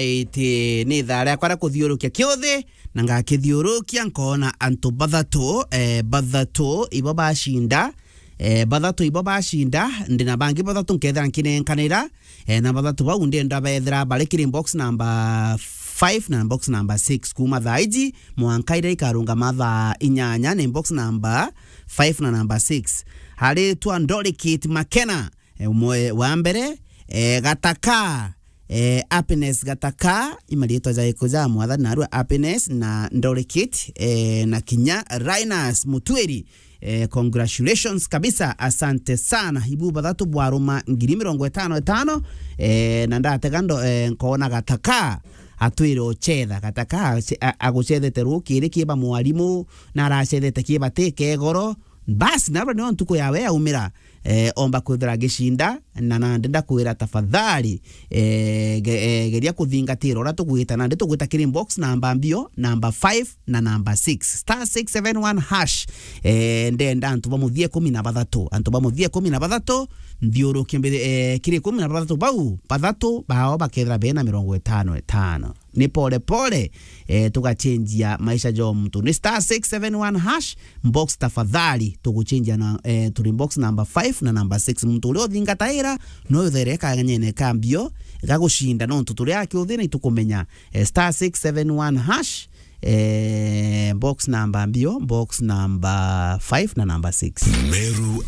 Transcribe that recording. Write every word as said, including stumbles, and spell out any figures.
Iti ni ithaa riakwa ria kuthiurukia kiuthi, na ngakithiurukia, nkoona antu bathatu, eh, bathatu ibo bacinda, eh, bathatu ibo bacinda, ndi na bangi bathatu nkethira nkinenkanira, eh, na bathatu bau ndenda bethira bari kiri box number five na box number six kuuma thaa iji mwanka iria ikarungama thaa inyanya, ni box number five na number six. Haritwa Ndorikit Makena, eh, umwe wa mbere, eh, Gataka, eh, Happiness Gataka, imariitwa ja ikuja mwathani narua Happiness na Ndorikit, eh, na kinya Linus Mutwiri. Eh, congratulations kabisa, asante sana. Ibu bathatu bwaruma ngiri mirongo itano itano, eh, na ndatega ndo, eh, nkoona Gataka atwire ocetha. Gataka ace-, a-, agucethete rukiri kiba mwarimu, na aracethete kiba ti kegoro. Basi, narua nio ntuku yawe yaumira, eh, omba kwithira agicinda, na nandi ndakwira tafadhali, eh, ge-, eh, geria kuthingatira uria tugwita, nandi tugwita kiri box namba mbio, namba five na namba six, star six seven one hash. Eh, ndenda antu ba muthia ikumi na bathatu, antu ba muthia ikumi na bathatu, nthiurukie mbi-, eh, kiri ikumi na bathatu bau, bathatu bao bakethira bena mirongo itano itano. Ni pole pole, eh, tugachenjia maisha ja muntu. Ni star six seven one hash, box tafadhali, tuguchenjia na, eh, turi box number five na number six. Muntu uria uthingataira, no uthere kanyene ka mbio, gagucinda, nontu turi akiuthina itukumenya. Eh, star six seven one hash, eh, box number mbio, box number five na number six. Meru